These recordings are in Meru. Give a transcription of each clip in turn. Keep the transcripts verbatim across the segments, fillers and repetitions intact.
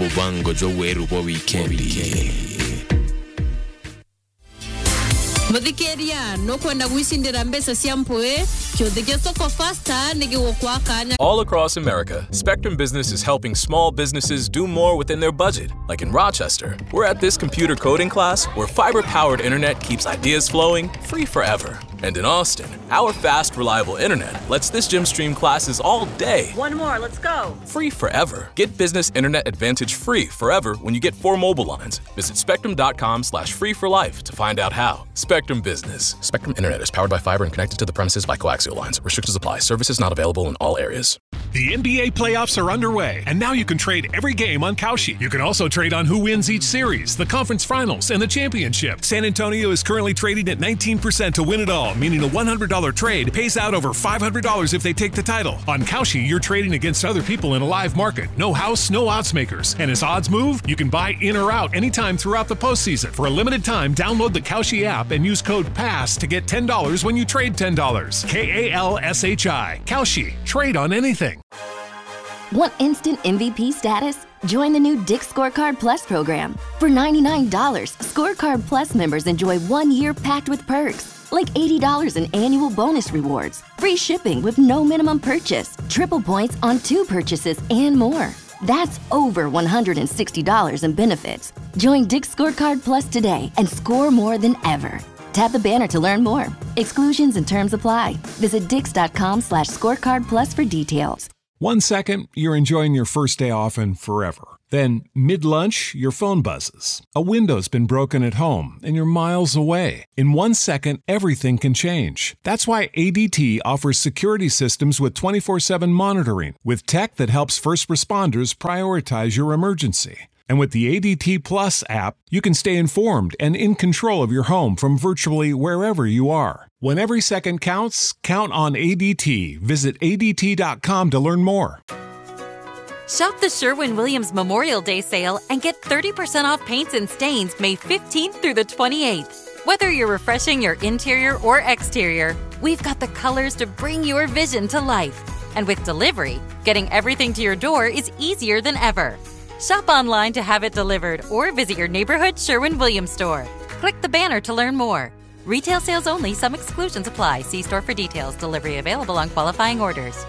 Mubango jwa weru bwa wikendi. Muthikiria, nukwenda gwicindira mbeca cia mpui? Kiuthi gia Soko Faster ni gigukwa kanya. All across America, Spectrum Business is helping small businesses do more within their budget. Like in Rochester, we're at this computer coding class where fiber powered internet keeps ideas flowing free forever. And in Austin, our fast, reliable internet lets this gym stream classes all day. One more, let's go. Free forever. Get business internet advantage free forever when you get four mobile lines. Visit spectrum dot com slash free for life to find out how. Spectrum Business. Spectrum Internet is powered by fiber and connected to the premises by coaxial lines. Restrictions apply. Services not available in all areas. The N B A playoffs are underway, and now you can trade every game on Kalshi. You can also trade on who wins each series, the conference finals, and the championship. San Antonio is currently trading at nineteen percent to win it all, meaning a one hundred dollar trade pays out over five hundred dollars if they take the title. On Kalshi, you're trading against other people in a live market. No house, no odds makers. And as odds move, you can buy in or out anytime throughout the postseason. For a limited time, download the Kalshi app and use code pass to get ten dollars when you trade ten dollars. K A L S H I. Kalshi. Trade on anything. Want instant M V P status? Join the new Dick's Scorecard Plus program. For ninety-nine dollars, Scorecard Plus members enjoy one year packed with perks, like eighty dollars in annual bonus rewards, free shipping with no minimum purchase, triple points on two purchases, and more. That's over one hundred and sixty dollars in benefits. Join Dick's Scorecard Plus today and score more than ever. Tap the banner to learn more. Exclusions and terms apply. Visit dicks dot com slash scorecard plus for details. One second, you're enjoying your first day off and forever. Then, mid lunch, your phone buzzes. A window's been broken at home and you're miles away. In one second, everything can change. That's why A D T offers security systems with twenty-four seven monitoring, with tech that helps first responders prioritize your emergency. And with the A D T Plus app, you can stay informed and in control of your home from virtually wherever you are. When every second counts, count on A D T. Visit A D T dot com to learn more. Shop the Sherwin Williams Memorial Day sale and get thirty percent off paints and stains May fifteenth through the twenty-eighth. Whether you're refreshing your interior or exterior, we've got the colors to bring your vision to life. And with delivery, getting everything to your door is easier than ever. Shop online to have it delivered or visit your neighborhood Sherwin Williams store. Click the banner to learn more. Retail sales only, some exclusions apply. See store for details. Delivery available on qualifying orders.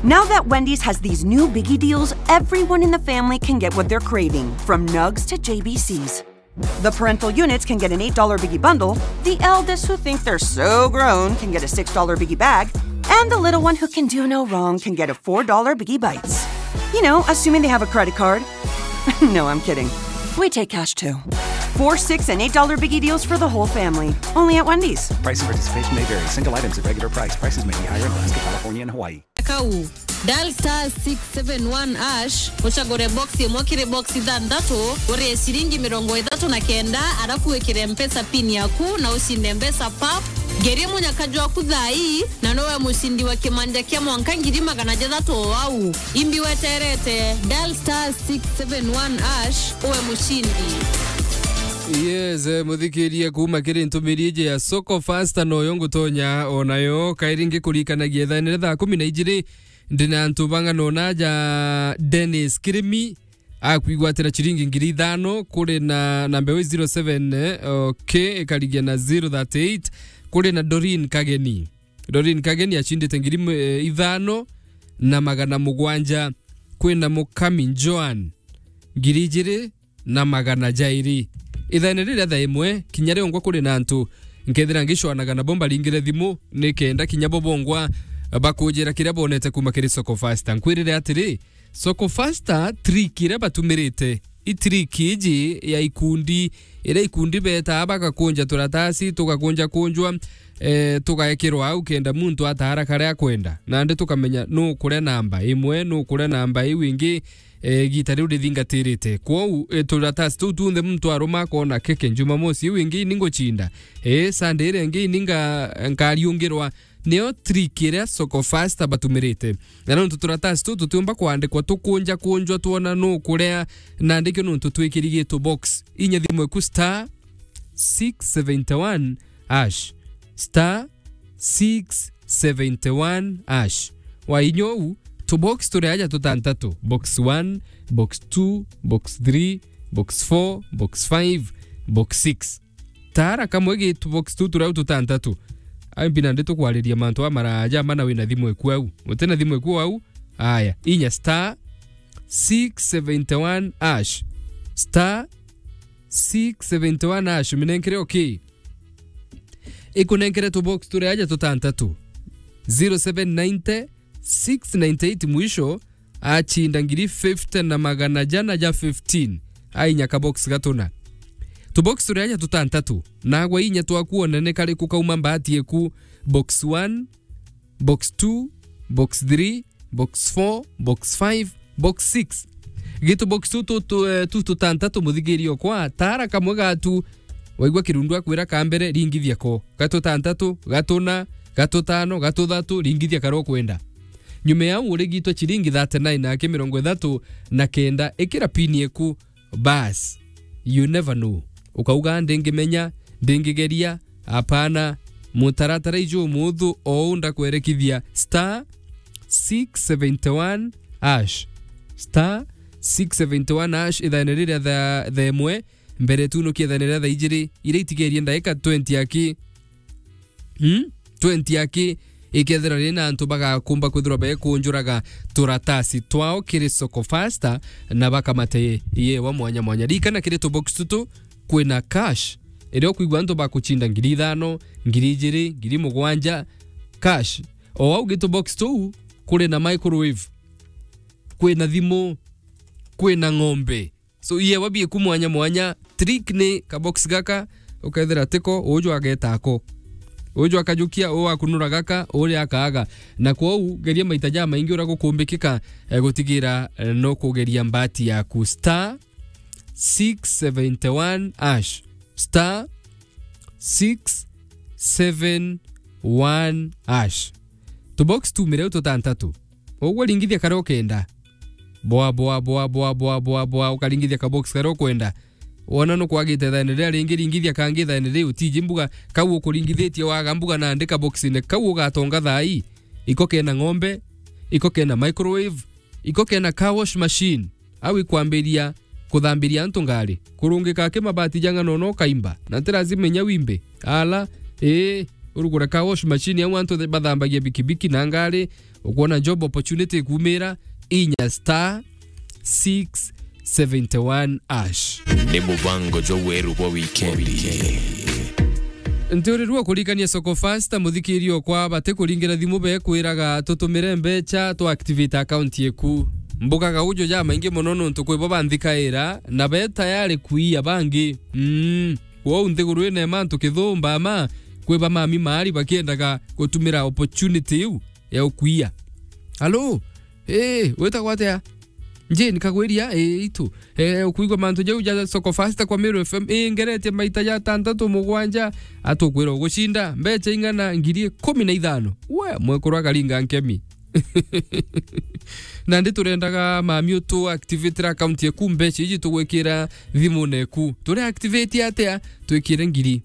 Now that Wendy's has these new biggie deals, everyone in the family can get what they're craving, from nugs to J B Cs. The parental units can get an eight dollar biggie bundle, the eldest who think they're so grown can get a six dollar biggie bag, and the little one who can do no wrong can get a four dollar biggie bites. You know, assuming they have a credit card. No, I'm kidding. We take cash too. Four, six, and eight dollar biggie deals for the whole family. Only at Wendy's. Price and participation may vary. Single items at regular price. Prices may be higher in Alaska, California, and Hawaii. Kau, dial star six seven one hash, ucagure box imwe kiri box ithanthatu, urie ciringi mirongo ithatu na kenda, arafu wikire Mpesa pin yaku na ucinde mbeca pap. Ngerie munyaka jwaku thaa ii, na nowe mucindi wa kimanja kia mwanka ngiri magana jathatu o au. Imbi weterete, dial star six seven one hash, uwe mucindi. Yes, eh, muthikiria kuma kiri ntumiri iji ya Soko Fasta noyo ngutonya onayo. Kairi ngikurikanagia ithaa ni thaa kumi na ijiri, ndi na antu bang'ana ona ja Dennis Kirimi, akwigwatira ciringi ngiri ithano, kuri na namba iu zero seven, eh, okay, ikarigia na zero thirty eight, kuri na Doreen Kageni. Doreen Kageni acindite ngiri, eh, ithano na magana mugwanja, kwina Mukami Joan, ngiri ijiri na magana jairi. Ithaene riria thaa imwe, kinya riongwa kuri na antu nkethira ngicwanaga nabo mbaringire thimu, nikenda kinya bo bongwa bakunjira kiria bonete kuma kiri Soko Fasta. Nkwirire atiri, Soko Fasta trick iria batumirite, i trick iji ya ikundi, iria ikundi betaa bagakunja turatasi, tugakunja kunjwa, eh, tugaekirwa au kenda muntu ataara karia akwenda. Nandi tukamenya nu kuria namba imwe, nu kuria namba iu ingi, eh, igita riu rithingatirite. Kwou, eh, turatasi tuu tunthe muntu aruma akona keke Jumamosi iu ingi ni ngucinda. Eh, Sunday iria ingi ni nga-, nkariungirwa. Nio trick iria Soko Fasta batumirite. Na nontu turatasi tuu tutiumba kwandikwa tukunja kunjwa twona nu kuria, nandi kio nontu twikirigitwe box. Inya thimu eku star six seventy one hash. Star six seventy one hash. Wainya uu, Tubox turi aja tutantatu. Box one, box two, box three, box four, box five, box six. Tara kamwe gi tubox tu turia tutantatu. Ai, mbi nandi tukwariria mantu a maraja mana wina thimu eku au. Utina thimu eku au? Aya, inya star six seventy one hash. Star six seventy one hash. Minenkere okay. Ikunenkere tubox turi aja tutantatu. Zero seven ninety, six ninety eight mwisho, achinda ngiri fifty na magana jana ja fifteen. Ainya kabox gatuna. Tubox turi aja tutantatu. Nagwa inya twakuonene kari kukauma mbati eku. Box one, box two, box three, box four, box five, box six. Gitu box tu, tu, tu, eh, tu tutantatu, muthigirio kwa tara kamwe gatu. Waigua kirundu akwira ka mbere, ringithia ko. Gatutantatu, gatuna, gatutano, gatuthatu, ringithia kara ukwenda. Nyuma ya u urigitwe chiringi thirty nine na aki mirongo ithatu na kenda, ikira pini eku. Bas, you never know. Ukauga, "Ndingimenya, ndingigeria." Apana, mutaratara iju umuthu ou ndakwerekithia star six seventy one hash. Star six seventy one hash, ithaene riria tha-, thaa imwe, mbere tunukie ithaene riria thaa ijiri, iria itigerie ndaika twenty aki. Hmm? Twenty aki, ikethira riri na antu bagakumba kwithirwa bekunjuraga turatasi twao kiri Soko Fasta na bakamate yewa mwanya mwanya. Ririkana kiri tubox tutu kwina cash, iria ukwigua antu bakuchinda ngiri ithano, ngiri ijiri, ngiri mugwanja, cash. O au gitu box tuu, kuri na microwave, kwina thimu, kwina ng'ombe. So, iyewa bieku mwanya mwanya, trick ni kabox gaka, ukethira tiko, uju ageta ako. Uju akajukia, u akunura gaka, uria akaaga. Na kwou, geria maita jamaingi uria gukumbikika, eh, gutigira, eh, no kugeria mbati yaku. Star six seventy one hash. Star six seven one hash. Tubox tumire u tutantatu. Ugwe ringithia karia ukenda. Boa, boa, boa, ukaringithia kabox karia ukwenda. Wona nukwagite thaene riria ringi, ringithia kangi thaene riu. Utiji mbuga, kau ukuringithitie waga mbuga nandi kaboxine kau ugatonga thaa ii. Iko kena ng'ombe, iko kena microwave, iko kena car wash machine. Au ikwambiria kuthambiria antu ngari, kurungika aki mabati ja ng'ano no kaimba, na ti lazima inya wimbe. Ala, ii, urugure car wash machine au antu bathambagia bikibiki na ngari, ukwona job opportunity ikumira, inya star six seventy one hash. Ni mubango jwa weru bwa wikendi. Ntiurirua kurikania Soko Fasta, muthikirio kwa bati kuringira thimu bekwiraga tutumire mbecha tu activate account yeku. Mbugaga ujo ja maingi mono nontu kwi bo banthikaira na be tayari kuia bangi. Mm. Kwou nthiguru ina mantu kithumba ma kwi ba mami maari bakiendaga gutumira opportunity iu ya ukuia. Halo? Eh, witagwa atia? Jane Kagwiria, eh, itu. Eh, ukuigua mantu jau ja Soko Fasta kwa Meru F M, eh, ngeretie maita ja tantatu mugwanja, atukwira ugucinda mbecha ing'ana? Ngiri ikumi na ithano. We, mwekuru akaringa nkemi. Nandi turendaga mami utu activate account yaku, mbecha iji tugwikira thimune eku. Turi activate atia? Twikire ngiri.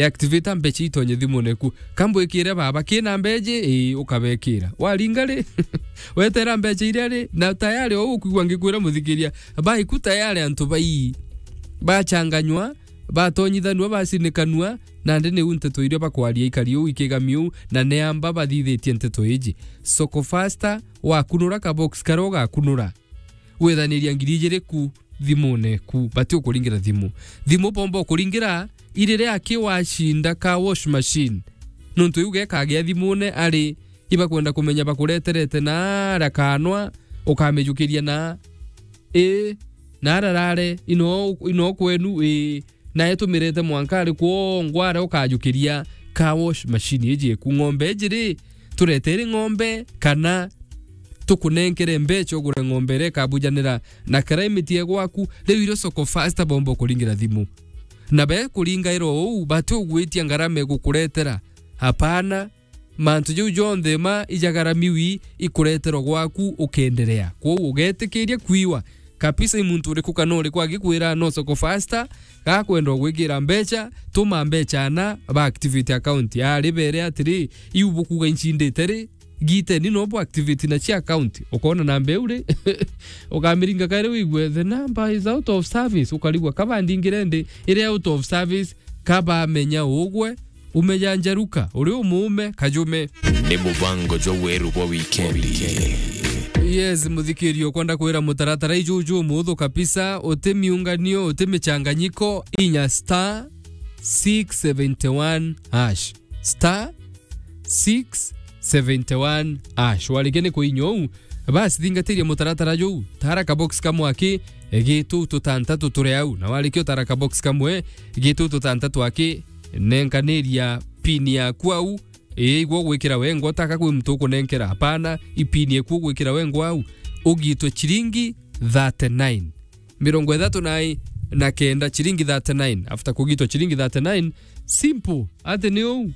Activate mbecha itonye thimune eku. Kambwikire baba, kina mbeji, ii, ukabekira. Waringa ri? Wetera mbecha iria ri? Na tayari o ukwigua ngikwira muthikiria, baiku tayari antu bai bachanganywa, batonyithanua, bacinikanua, nandi niu nteto iria bakwaria ikari uu ikigami uu, na neamba bathithitie nteto iji. Soko Fasta, wakunura kabox karia ugakunura. Withaniria ngiri ijiri ku thimune eku, bati ukuringira thimu. Thimu bomba ukuringira iriria aki wacinda car wash machine. Nontu iu gekagia thimune ari ibakwenda kumenya bakureterete na ara kanwa, ukamijukiria na, ii, na ara rare, ino, ino kwenu, ii. Nae tumirete mwanka ari kwongwa aria ukajukiria car wash machine iji eku. Ng'ombe iji ri, turetere ng'ombe kana tukunenkere mbecha ugure ng'ombe iria ikabujanira na climate ya gwaku? Riu irio Soko Fasta bomba ukuringira thimu. Na be kuringaira uu, bati ugwitia ngarama igukuretera. Hapana. Mantu jau jonthe ma ijagaramiwi ikureterwa gwaku ukenderea. Kwou ugetikiria kwiwa kabisa i muntu uriku kana uriku agikwira no Soko Fasta, gakwenda gwikira mbecha, tuma mbecha na ba activate account. Ari bere atiri, iu bukuga incindite ri? Giteni no bo activate na cia account. Ukona namba iu ri, ukamiringa kairi wigue the number is out of service, ukarigwa kaba ndingire ndi, iri out of service, kaba menya ugwe, umeja njaruka, uri umuume, kajume. Ni mubango jwa weru bwa wikendi. Yes, muthikirio, kwenda kwira mutaratara iju ju muthu kabisa, uti miunganio, uti michanganyiko, inya star six seventy one hash. Star six seventy one hash. Warikia ni kuinya uu, basi thingatiria mutaratara juu. Tara ka box kamwe aki, gitu tutantatu turi au. Na warikia utara ka box kamwe, gitu tutantatu aki, nenkaniria pin yaku au. Ii, igwo gwikira wengwa, taka kwi muntu ukunenkera. Hapana, ipin eku gwikira wengwa au. Ugitwe chiringi thirty nine. Mirongo ithatu na i na kenda, chiringi thirty nine. After kugitwa chiringi thirty nine, simple. Ati ni uu.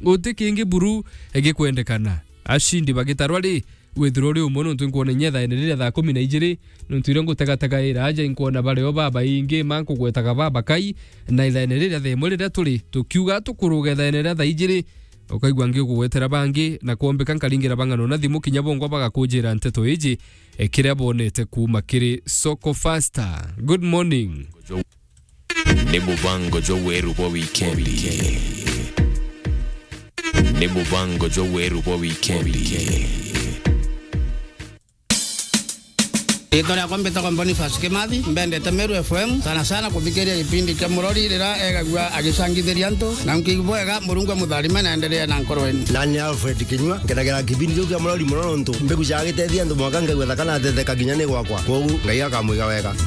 Guti kingi buru gikwendekana. Ashindi bagitarwa ri, withirwa uri umwe, nontu inkwona inya ithaene riria thaa kumi na ijiri, nontu iria ngutegategaira aja inkwona bari o babaingi, ma nkugwetaga babakai, na ithaene riria thaa imwe riria turi, tukiuga tukuruga ithaene riria thaa ijiri, ukaigua ngigugwetera bangi, na kwombika nkaringira bang'ano na thimu kinya bongwa bagakujira nteto iji, e, kiria bonete kuuma kiri Soko Fasta. Good morning. Ni mubango jwa weru bwa wikendi. Ni mubango jwa weru bwa wikendi. Riitwa riakwa mbitagwa Boniface Kimathi, mbendete Meru F M, sana sana kuthikiria gipindi kia Murori riria egagua agicangithiria antu, na nkiigua bwega, Murungu amutharime na endelee na nkoro yenu. Nani Alfred Kinyua, nkenagira kipindi kiu kia Murori mono nontu mbigucaga gitethia antu mwanka ngaigua thaka na ateteka kinya ni gwakwa. Kwogu Ngai akamwiga wega.